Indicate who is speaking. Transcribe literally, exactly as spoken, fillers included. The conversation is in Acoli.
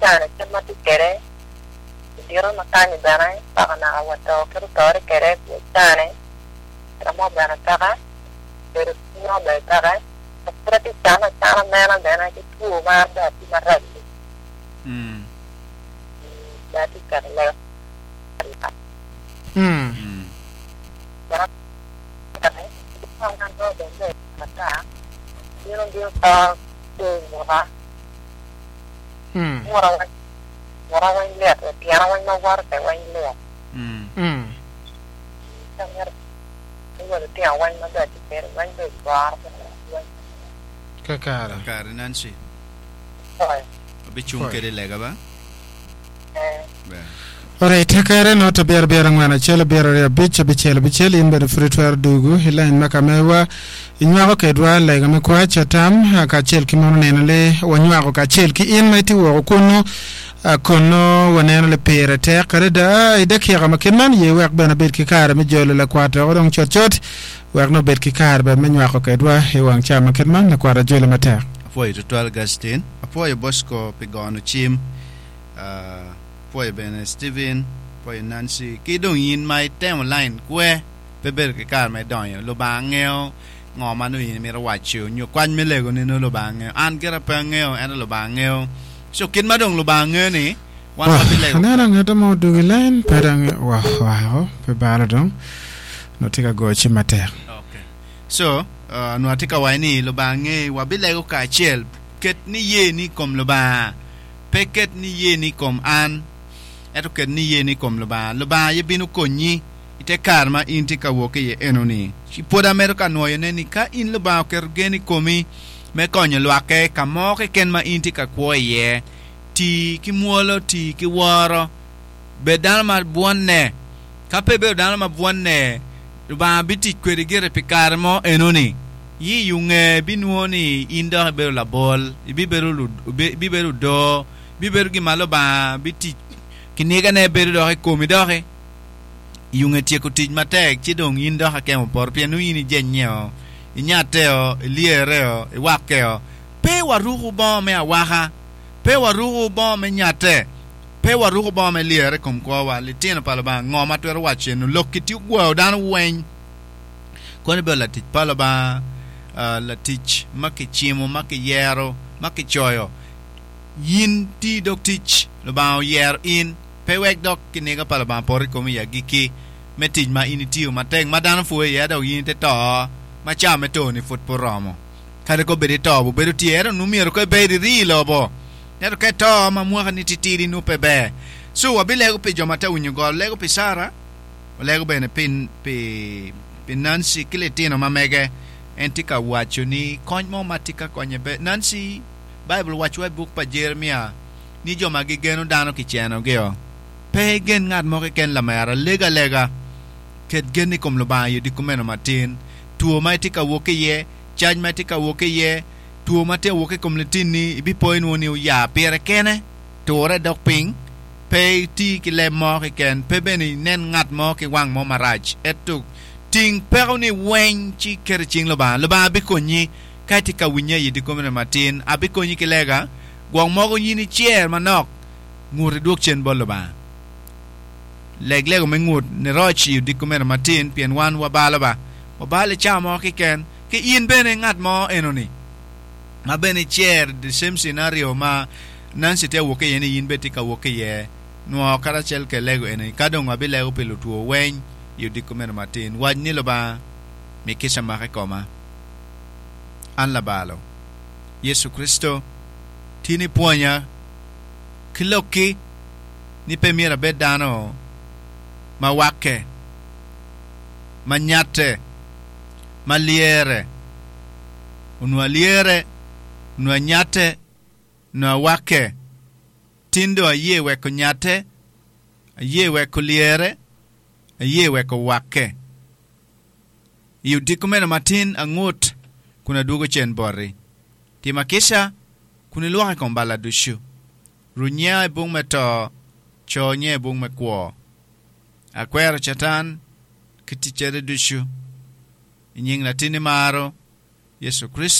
Speaker 1: Cane kit ma tye kwede ludito ma kany bene paka naka wa to kit otore kwede cane ka mo bene peke bedo mo bene peke pud atye cano acana nena bene ki two ma bene tye marac
Speaker 2: Mm.
Speaker 1: bene atye keto lega
Speaker 3: Mm.
Speaker 2: Mm.
Speaker 3: Mm.
Speaker 1: Ngura weng lyet tyena weng ma woto kwede weng lyet
Speaker 2: Mm.
Speaker 3: Mm.
Speaker 1: lutino weng ma bene tye kwede weng bene goro weng
Speaker 3: Kakare.
Speaker 2: Kare Nancy.
Speaker 1: Oy.
Speaker 2: Abicung
Speaker 3: Oy.
Speaker 2: kede lega ba?
Speaker 1: Eh.
Speaker 2: Ber.
Speaker 3: Alright, kare not abiro abiro angwen acel abiro aryo abic abicel abicel in bene pud itwero dugu i lain ma ka mewa inywako kedwa lega me kwac atam ah, kacel ki mono neno le wanywako kacel ki in ma itye woko kunu ah, kono waneno le pire tek adada i dakika ma kit man ye wek bene abed ki kare me jolo lakwat oko dong cutcut wek no bed ki kare bene me nywako kedwa i wang ca ma kit man lakwat ajolo matek
Speaker 2: Apwoyo tutwal Gastin. Apwoyo Bosco pi gono cim. Uh, apwoyo bene Steven, apwoyo Nancy. Ki dong in ma itemo line kwe pe bedo ki kare ma idonyo. Lubanga ngeo ngo ma nongo in imito waco nyo kwany me lego ni nongo Lubanga ngeo. An gira pe angeo ento Lubanga ngeo. So kit ma dong Lubanga ngeo ni wan
Speaker 3: Wah,
Speaker 2: wabilego.
Speaker 3: aneno angeta mo odugu i line pe dong wah wako pe balo dong no tye ka goyo cim matek
Speaker 2: Okay. So, uh, nwa tye ka waco ni Lubanga nge wabilego kacel. Ket ni ye ni i kom Lubanga. Pe ket ni ye ni i kom an. Ento ket ni ye ni i kom Lubanga. Lubanga aye bino konyi ite kare ma in tye ka wok iye enoni. Ci pwod amedo ka nwoyone ni ka in Lubanga oketo gen i komi me konyo lwakke ka mo keken ma in tye ka kwo iye. Ti ki mwolo, ti ki woro. Bed dano ma bwonne. Ka pe ibedo dano ma bwonne, Lubanga bitic kwedi gire pi kare mo enoni. Yi yunge binwo ni in dok ibedo labol, ibibedo lu- ibibedo odoo, ibibedo gin ma Lubanga bitic kinigane bedo dok i komi doki. Yunge tyeko tic matek ci dong in dok akemo poto pien nongo in ijenyeo, inyatteo, ilyereo, iwakkeo. Pe waruku bongo me awaka, pe waruku bongo me nyatte, pe waruku bongo me lyere i kom kwowa. Litino pa Lubanga ngo ma twero waco eno lok ki tye ogwao dano weng. Kono ibedo latic pa Lubanga, uh, latic ma kicimo, ma kiyero, ma kicoyo. In ti dok tic, Lubanga oyero in, pe wek dok kiniga pa Lubanga poto i komi i agikki me tic ma in itiyo matek ma dano pwoyo iye dok in ite to ma ca me to-ni pud pe oromo. Kadi ko bed ito bo bedo tye ento nongo myero ko ibed iri i lobo. Ento ka ito ma mwakani titidi nongo pe ber. So wabilego pi jo ma te winyo gol, lego pi Sara, walego bene pi, pi, pi Nancy ki litino ma mege. En tye ka waco ni kony mo ma tye ka konye be. Nancy, Bible waco i buk pa Jeremia ni jo ma gigeno dano kicenogio. Pe igen ngat mo keken lamera, lega alega. Ket gen i kom Lubanga i odiko meno matin. Two ma itye ka wok iye, cac ma itye ka wok iye, two ma tye wok i kom litini, ibipo inwo ni oya pire kene, ture dok piny, pe iti ki leb mo keken, pe bene inen ngat mo ki wang mo marac. Ento ting peko ni weng ci ket i cing Lubanga. Lubanga bikonyi ka itye ka winye i odiko meno matin. Abikonyi ki lega, gwok mogo in icer manok, ngut idwok cen bot Lubanga. Leg lego me ngut ni roc i odiko meno matin, pien wan wabalo ba. Wabalo i cawa mo keken, ki in bene ngat mo enoni ma bene icer the same scenario ma Nancy tye wok iye ni in bene tye ka wok iye. Nwo karacel ke lego eni, ka dong abilego pi lutwo weng i odiko meno matin. Wac ni Lubanga mi kica make koma. An labalo. Yecu Kristo, tin ipwonya ki lokki ni pe myero abed dano ma wakke, ma nyatte, ma lyere. Onwo alyere, onwo anyatte, onwo awakke. Tin dong aye weko nyatte, aye weko lyere, aye weko wakke. I odiko meno matin angut kun adwogo cen boti. Tima kica kun ilwoko i kom balla ducu. Runya i bung me to, co nye i bung me kwo. Akwero Catan ki ticcere ducu. I nying latinni maro, Yecu Kristo.